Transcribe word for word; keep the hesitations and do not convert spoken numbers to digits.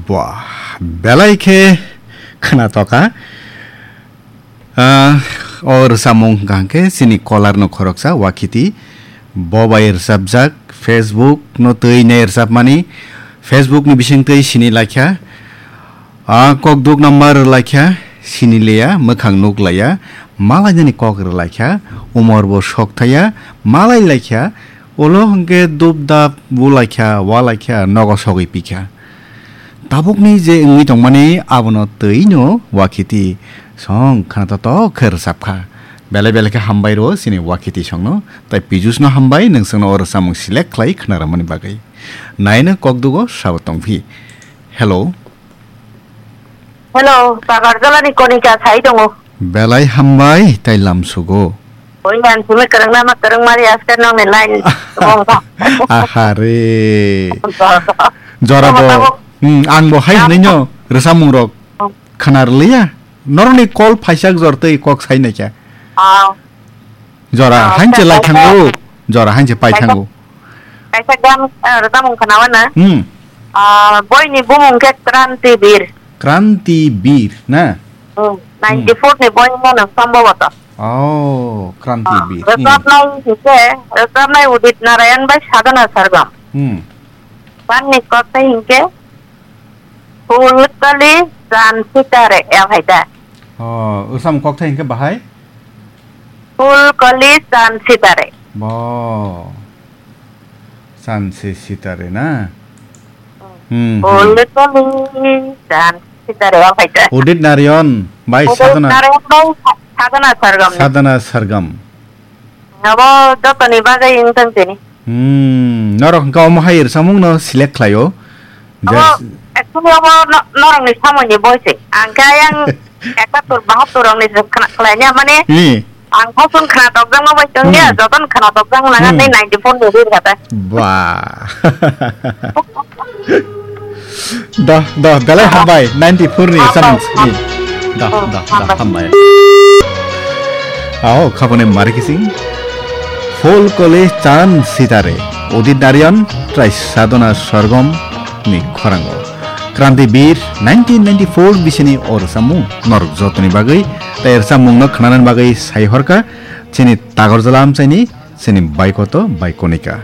Buah, belai khe khwnatoka. Ah, o rwchapmung hwnkha hwnkhe chini kolarno khoroksa Wakhiti. Bo bai rwchapjak, Facebook no twi nai rwchapmani, Facebook ni bising twi sini laikha. Ah, kokduk number rwlaikha, sini liya, mwkhang nuk laiya, malainani kok rwlaikha, umor bo sok thaya, malai laikha, ulo hwnkhe dub dab bulaikha, walaikha, nogo sogwi pikha. Tabukni je wngwi tongmani abono twi no Wakhiti song khwnatok khe rwchapkha. Belai belai khe hambai rwo chini Wakhiti songno, tai Pijusno hambai nwng songno o rwchapmung select khlai khwnaramani bagwi. Naino kokdugo sabo tongphi. Hello. Hello, Takarjalani Konika sai tongo. Belai hambai tai lamsugo. Oi, ang simi kwrwngna ma kwrwng mari aste nongni line tongkha. Ahare. Jorabo. Tamo, tamo. Hmm, ang bo hai hwnwi no rwchapmung rok khwna rwliya. Norokni call phaisa jor twi kok sai naikha. Ah. Jora Ah, hainche lai thango. Jora hainche pai thango. Kaisa gan, ah, rwchapmung khwnawa na. Hmm. Ah, boini bumung khe Kranti Bir. Kranti Bir na? Hmm. Ninety four ni boini no sambhabato. Oh, Kranti Ah, Bir. Hmm. Rwchapnai hinkhe, rwchapnai Udit Narayan bai Sadhana Sargam. Hmm. Ganni kok tei hinkhe Phul kali chan sitare, ya bhai da. Oh, usam kok thai hinkhe bahai? Phul kali chan sitare. Bo. Chan se sitare na? Hmm, hmm. Phul kali chan sitare, ya bhai da. Udit Narayan, bai Udit Sadhana. Narayan bai Sa-, Sadhana Sargam ni. Sadhana Sargam. Abo jotoni bagwi wngthang tini. Hmm, norok hwnkha omo hai rwchapmung no select khlaio. Abo just actually abo no-, norokni samoini boi se. Ang khe ayang ekatur bahattur rokni se khna-, khlaina mane Hmm. Ang kosong khna tokjakma bai tongya, Hmm. Joton khna tokjak nang Hmm. ani ninety four ni rir kata. Ba. Doh, doh, belai hambai, ninety four ni Hambai, samung sini. Doh, doh, doh, hambai. Hambai. Ao, khabone mari kising. Full College Chan Sitare, Udit Narayan, trai Sadhana Sargam ni khorango. Kranti Bir nineteen ninety-four bisini o rwchapmung norok jotoni bagwi, tai rwchapmungno khwnanani bagwi sai horkha chini Tagarjala amchaini chini Baikoto Baikonika.